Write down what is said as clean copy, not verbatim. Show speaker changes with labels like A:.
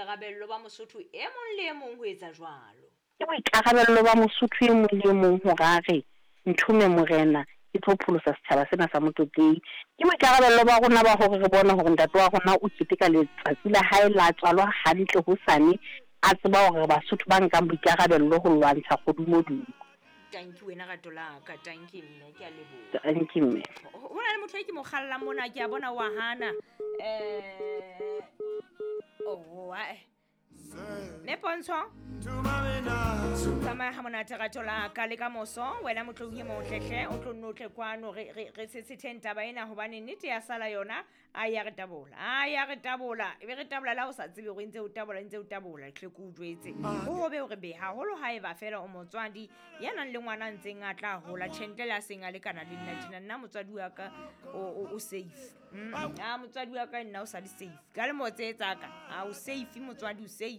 A: boikarabello ba Mosotho e mong le e mong ho etsa jwalo.
B: Ke boikarabello ba Mosotho e mong le e mong hore a re, Nthome Morena, ke tlo pholosa setjhaba sena sa Motlotlehi. Ke boikarabello ba rona ba hore re bone hore ntate wa rona o keteka letsatsi la hae la tswalo hantle hosane, a tseba hore re Basotho ba nkang boikarabello ho lwantsha kgodumodumo.
A: Tanki wena rato la ka, tanki mme, ke a leboha.
B: Tanki mme.
A: Ho na le motho e ke mo kgallang mona, ke a bona wa hana. Eh, oh, ae. Mme Pontsho, tsamaya ha monate rato la ka le ka moso, wena motloung e motle hle, o tlo nno o tle kwano re re re tshetshetheng taba ena hobane nnete ya sala yona a ya re tabola, a ya re tabola, e be re tabola la o sa tsebe hore e ntse o tabola, e ntse o tabola, hle ke o jwetse. Ho hobe hore be haholo haeba fela o motswadi ya nang le ngwana a ntseng a tla hola, tjhe ntle le a seng a lekana le nna tjena, nna motswadi wa ka o safe. A motswadi wa ka nna o sa le safe. Ka lemo tse tsaka, a o safe motswadi o safe.